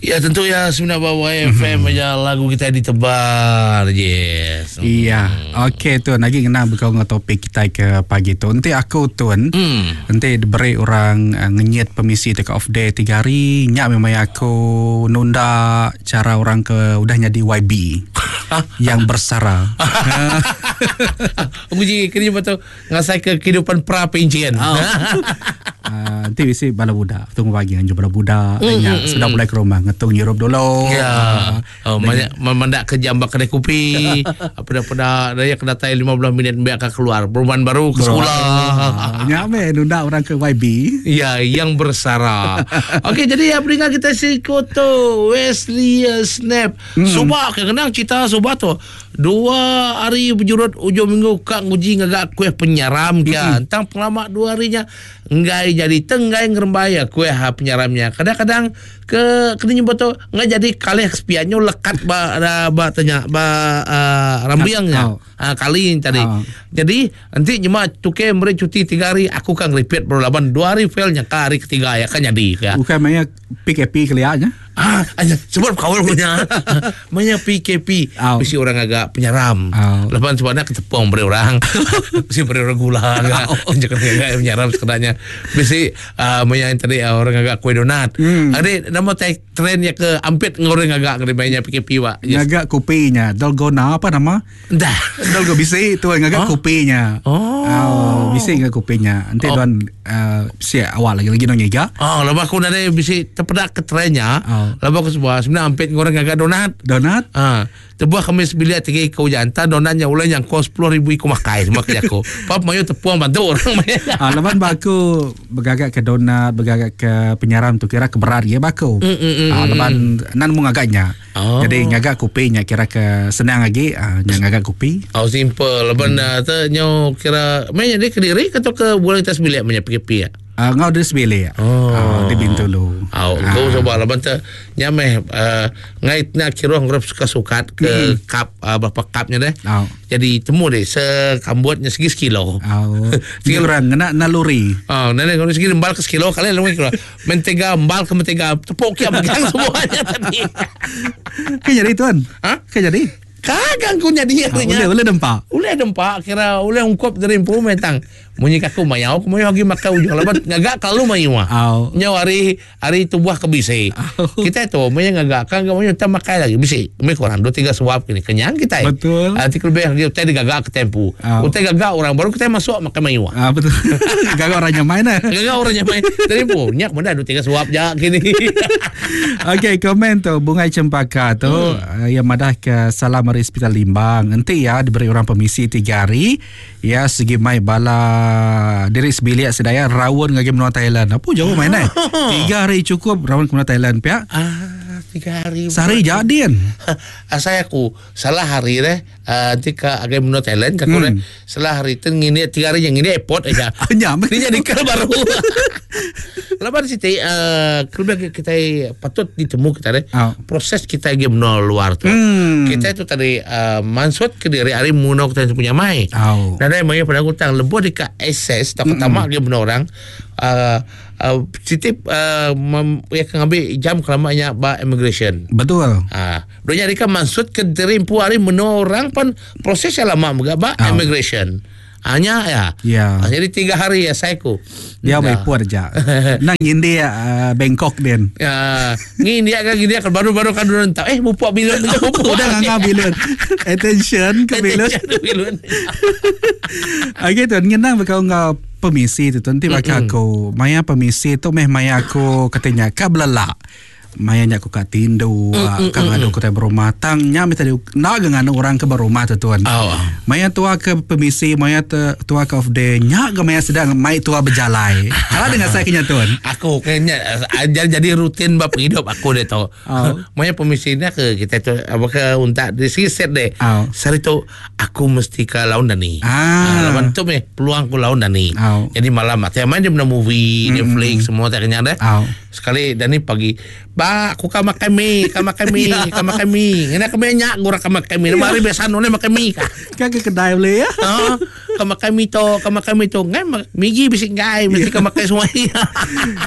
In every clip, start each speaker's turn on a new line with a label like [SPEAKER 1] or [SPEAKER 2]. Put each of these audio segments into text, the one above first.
[SPEAKER 1] Ya tentu ya semina ba YFM aja lagu kita ditebar. Yes.
[SPEAKER 2] Iya. Okey tuan, agi ngena bekau enggau topik kitai ke pagi tu. Enti aku tuan, enti diberi orang eh, ngenyit pemisi tauka off day tiga hari, nya meh maya aku nunda chara orang ke udah nyadi YB yang bersara.
[SPEAKER 1] Uji kini betul Ngasai ke kehidupan pra pencen.
[SPEAKER 2] Oh. Uh, nanti bisi bala budak tunggu pagi nganjung bala budak mm, nya mm, sudah mulai ke rumah ngetung nyirup dulu.
[SPEAKER 1] Ya. Uh, oh, banyak memandak ke jam bak kedai kopi. Apa dah pada daya ke datai 15 minit biar ke keluar. Perubahan baru ke sekolah.
[SPEAKER 2] Uh, nya me nunda orang ke YB.
[SPEAKER 1] Ya, yang bersara. Okey, jadi ya pendengar kita si Koto Wesley Snap. Suba ke kenang cerita suba tu. Dua hari bejurut ujung minggu ka nguji ngaga kuih penyaram kia. Mm-hmm. Tang pengelama dua hari nya enggai jadi tenggai ngerembai ya kuih ha penyaram nya. Kadang-kadang ke kena nyebut tu enggai jadi kalih sepiak nyu lekat ba ba tanya ba uh, rambiang nya. Oh. Uh, kali tadi. Oh. Jadi enti nyema tuke meri cuti tiga hari aku kan repeat baru laban dua hari fail nya ka hari ketiga ya kan jadi
[SPEAKER 2] ya. Bukan maya PKP kelia nya.
[SPEAKER 1] Ah, aja sebut kaul punya. Maya PKP
[SPEAKER 2] Au.
[SPEAKER 1] bisi orang agak penyaram.
[SPEAKER 2] Au.
[SPEAKER 1] Lepas sebab nak ketepung beri orang. Bisi beri orang gula agak. Jangan agak penyaram sekedanya. Bisi uh, maya yang tadi ah, orang agak kuih donat. Ada nama tag trend ya ke ampit ngoreng agak kena maya PKP wa. Yes.
[SPEAKER 2] Ngaga kopinya. Dalgona apa nama?
[SPEAKER 1] Dah.
[SPEAKER 2] Dalgo bisi tu ngaga
[SPEAKER 1] Oh.
[SPEAKER 2] kopinya.
[SPEAKER 1] Oh.
[SPEAKER 2] Oh, bisi ngaga kopinya. Nanti
[SPEAKER 1] Oh.
[SPEAKER 2] tuan uh, si awal lagi lagi nong ngiga.
[SPEAKER 1] Oh, lepas aku nadai bisi terpedak ke trendnya.
[SPEAKER 2] Oh.
[SPEAKER 1] Lepas aku sebuah sebenarnya ampit ngoreng agak donat.
[SPEAKER 2] Donat.
[SPEAKER 1] Ah, tebuah kami sebilik tiga ikau jantan donatnya ulah yang kos 10,000 iku makai semua kerja aku. Pap mayu tepuang bantu orang main.
[SPEAKER 2] Ah, laban baku begagak ke donat, begagak ke penyaram tu kira ke berat ya baku. Ah, laban nan mu ngagaknya.
[SPEAKER 1] Oh.
[SPEAKER 2] Jadi ngagak kopi nya kira ke senang lagi ah, nya ngagak kopi.
[SPEAKER 1] Oh simple. Laban hmm. tu nyo kira main jadi ke diri atau ke bulan kita sebilik punya PKP ya.
[SPEAKER 2] Ah, ngau di sebilik.
[SPEAKER 1] Oh.
[SPEAKER 2] Ah, di Bintulu.
[SPEAKER 1] Oh, ah. kau coba laban tu nyameh uh, ngait nak kira ngrep suka-suka ke cup uh, berapa cupnya deh.
[SPEAKER 2] Oh.
[SPEAKER 1] Jadi temu deh sekambutnya segi sekilo.
[SPEAKER 2] Oh. Segi orang ngena naluri.
[SPEAKER 1] Oh, nenek kalau segi embal ke sekilo kali lu kira. Mentega embal ke mentega tepuk kia pegang semuanya tadi.
[SPEAKER 2] Ke jadi tuan?
[SPEAKER 1] Ha?
[SPEAKER 2] Ke jadi?
[SPEAKER 1] Kagang ku jadi
[SPEAKER 2] Ah,
[SPEAKER 1] artinya.
[SPEAKER 2] boleh boleh dempak.
[SPEAKER 1] Ulih dempak kira ulih ungkup dari empu metang. Munyi kaku mayau ku mayu lagi makan ujung laban ngagak kalu mayu ah.
[SPEAKER 2] Au.
[SPEAKER 1] Nyau hari hari tubuh ke bisi.
[SPEAKER 2] Au.
[SPEAKER 1] Kita tu mayu ngagak kan mayu tak makan lagi bisi. Lebih kurang dua tiga suap kini kenyang kita.
[SPEAKER 2] Betul.
[SPEAKER 1] Ah, Nanti lebih lagi utai digagak ke tempu.
[SPEAKER 2] Au.
[SPEAKER 1] Utai gagak orang baru kita masuk makan mayu ah.
[SPEAKER 2] Ah, betul. Gagak orangnya main eh.
[SPEAKER 1] Gagak orangnya main. Dari empu nyak mana dua tiga suap je kini.
[SPEAKER 2] Okey, komen tu Bungai Cempaka tu yang madah ke salam dari Hospital Limbang. Nanti ya diberi orang permisi tiga hari. Ya segi mai bala diri sebilik sedaya rawon ngagi menua Thailand. Apa jauh main eh? Tiga hari cukup rawon ke menua Thailand pihak.
[SPEAKER 1] ah, tiga hari.
[SPEAKER 2] Sehari jadi kan.
[SPEAKER 1] Asal aku salah hari deh nanti ke agai menua Thailand ke aku deh salah hari tu ngini tiga hari yang ngini airport aja.
[SPEAKER 2] Nyam.
[SPEAKER 1] Ini jadi ke baru. Lepas situ uh, lebih kita patut ditemu kita deh.
[SPEAKER 2] Oh.
[SPEAKER 1] Proses kita pergi menua luar tu. Kita itu tadi uh, mansut ke diri hari menua kita punya mai.
[SPEAKER 2] Oh.
[SPEAKER 1] Dan ada mai pada aku tang lebuh dekat access tak pertama dia menua orang uh, uh, Siti uh, mem, ya kan ambil jam kelamanya ba immigration.
[SPEAKER 2] Betul.
[SPEAKER 1] Ah, dia jadi kan maksud ke diri empu hari menua orang pun proses yang lama juga ba
[SPEAKER 2] Ah.
[SPEAKER 1] immigration. Hanya ya.
[SPEAKER 2] Ya.
[SPEAKER 1] Ah, jadi tiga hari ya saya ku.
[SPEAKER 2] Dia
[SPEAKER 1] Nah.
[SPEAKER 2] baik puar aja. Nang India uh, Bangkok den.
[SPEAKER 1] Ya, ni dia kan gini kan baru-baru kan dulu tahu. Eh, bupuk bilun bupuk.
[SPEAKER 2] Udah ngangah bilun. Attention ke bilun.
[SPEAKER 1] Bilun.
[SPEAKER 2] Okey tuan, ngenang bekau ngau permisi tu tuan, nanti bakal aku. Maya permisi tu meh maya aku katanya ka belelak. Maya nya aku kat tindu, ka ngadu aku berumah tang nya mi tadi nak ge nganu orang ke berumah tu tuan.
[SPEAKER 1] Oh.
[SPEAKER 2] Maya tua ke permisi, maya te, tua ke off day, nya ge maya sedang mai tua berjalai. Kalau dengan saya kenya tuan.
[SPEAKER 1] Aku kayaknya eh, jadi, jadi rutin bab hidup aku deh tau.
[SPEAKER 2] Oh.
[SPEAKER 1] Maya permisinya ke kita tu apa ke untak di sini set deh.
[SPEAKER 2] Oh.
[SPEAKER 1] Sehari tu aku mesti ke laun dani.
[SPEAKER 2] Ah.
[SPEAKER 1] lawan tu meh peluang aku laun dani.
[SPEAKER 2] Oh.
[SPEAKER 1] Jadi malam ah, tiap main dia pernah movie, Netflix semua tak kenyang deh.
[SPEAKER 2] Oh.
[SPEAKER 1] Sekali Dani pagi. Ba aku ka makai mi, ka makai mi, ka makai mi. Ngena ke nya gura ka makai mi. Nama hari biasa nulih makai mi ka.
[SPEAKER 2] Ka ke kedai boleh ya.
[SPEAKER 1] Ha, ka makai mi to, ka makai mi to. Ngai migi bisi ngai mesti ka makai semua.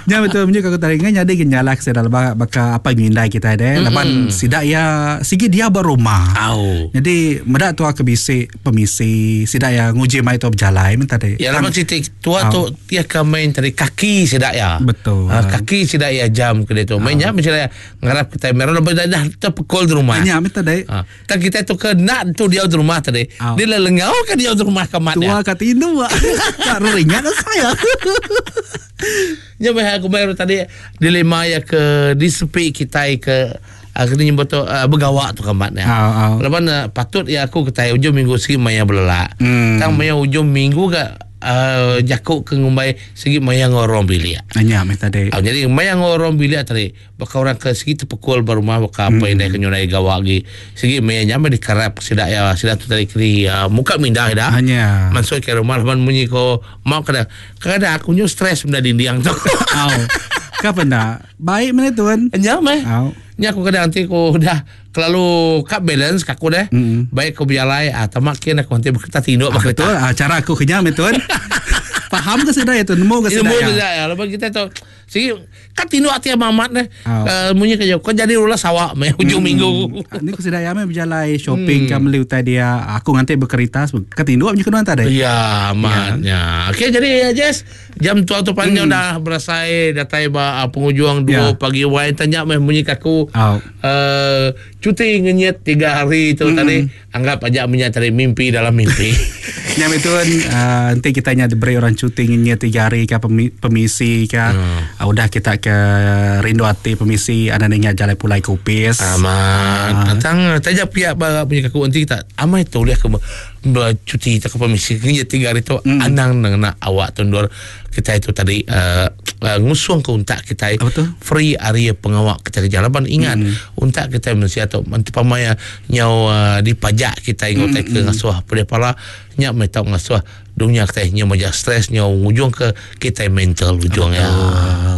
[SPEAKER 2] Nya betul menyu ka tadi ngai nyadi ke nyalah ke sida leba baka apa ngindai kita deh. Laban sida ya sigi dia ba rumah.
[SPEAKER 1] Au.
[SPEAKER 2] Jadi meda tua ke bisi pemisi sida ya nguji mai tua bejalai men tadi.
[SPEAKER 1] Ya laban siti Tua tu iya ke main tadi kaki sida iya.
[SPEAKER 2] Betul.
[SPEAKER 1] Ha, kaki sida iya jam ke ditu. Main nya mesti ngarap kita meron lebih dah dah terpekul di rumah.
[SPEAKER 2] Nya meh tadi.
[SPEAKER 1] Ha. Tang kita tu ke nak tu dia di rumah tadi.
[SPEAKER 2] Au.
[SPEAKER 1] Dia lelengau ke dia di rumah ke mat
[SPEAKER 2] Tua
[SPEAKER 1] dia.
[SPEAKER 2] kat indu. Tak ringat saya.
[SPEAKER 1] Nya meh aku main tadi dilema ya ke di sepi kita ke kena nyebut tu begawa tu kamat nya.
[SPEAKER 2] Au, au.
[SPEAKER 1] Laban patut ya aku kitai ujung minggu sigi maya belelak.
[SPEAKER 2] Hmm.
[SPEAKER 1] Tang maya ujung minggu ga uh, jaku ke ngumbai sigi maya ngorong bilik.
[SPEAKER 2] Nya meh tadi.
[SPEAKER 1] Au, jadi maya ngorong bilik tadi baka orang ke sigi terpekul ba rumah baka apa indai ke nyurai gawa agi sigi maya nya meh dikarap sida ya sida tu tadi keri uh, muka mindah ida.
[SPEAKER 2] Nya.
[SPEAKER 1] Masuk ke rumah laban munyi ko mau kada kada aku nyu stres benda dinding tu.
[SPEAKER 2] Au. Ka penda Baik meh tuan.
[SPEAKER 1] Nya meh.
[SPEAKER 2] Au.
[SPEAKER 1] Nya aku kadang nanti aku dah kelalu kat balance kat aku deh.
[SPEAKER 2] Mm.
[SPEAKER 1] Baik aku berjalai ah tamak kin aku nanti berkereta tinduk
[SPEAKER 2] Ah,
[SPEAKER 1] berkereta.
[SPEAKER 2] betul. Ah, cara aku kenyang meh tuan. Faham ke sudah ya tuan? Nemu ke sudah
[SPEAKER 1] Ilmu
[SPEAKER 2] ya?
[SPEAKER 1] tu ya. Lepas kita tu sigi kat tinduk ati amat deh.
[SPEAKER 2] Au.
[SPEAKER 1] Uh, munyi kerja kau jadi ulah sawak meh hujung minggu.
[SPEAKER 2] Ah, Ni aku sudah ya meh berjalai shopping hmm. beli utai dia. Aku nganti berkereta ke tinduk punya kedua tadi.
[SPEAKER 1] Ya, amatnya. Okey, jadi ya, Jess, jam tua tu panjang dah berasai datai ba penghujung 2
[SPEAKER 2] Ya.
[SPEAKER 1] pagi wai tanya meh munyi kaku.
[SPEAKER 2] Au.
[SPEAKER 1] Cuti ngenyet 3 hari tu tadi anggap aja minyak tadi mimpi dalam mimpi.
[SPEAKER 2] Nya betul uh, nanti kita nya diberi orang cuti ngenyet 3 hari ke pemisi ke. Udah kita ke rindu hati pemisi ada ingat jalan pulai kupis.
[SPEAKER 1] Amat. Tentang taja pihak bara punya kaku nanti kita amai tu boleh ke bercuti tak ke permisi ngenyet 3 hari tu anang nang awak tundur kita itu tadi ngusung ke untak kita
[SPEAKER 2] Apa tu?
[SPEAKER 1] free area pengawak kita kerja laban ingat untak kita manusia tu nanti pamaya nyau dipajak kita ingat mm. ke ngasuh pedih pala nyak mai tau ngasuh dunia kita nyau majak stres nyau ngujung ke kita mental ujung ya.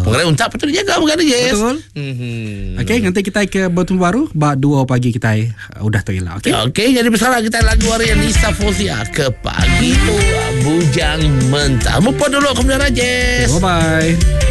[SPEAKER 1] Mengenai untak patut dijaga mengenai yes.
[SPEAKER 2] Betul. Okey, nanti kita ke bertemu baru bak 2 pagi kita udah tu ilah. Okey.
[SPEAKER 1] Okey, jadi bersalah kita lagu hari yang Nisa Fozia ke pagi tu Bujang Mentah. Mupa dulu kemudian Rajesh.
[SPEAKER 2] Bye bye.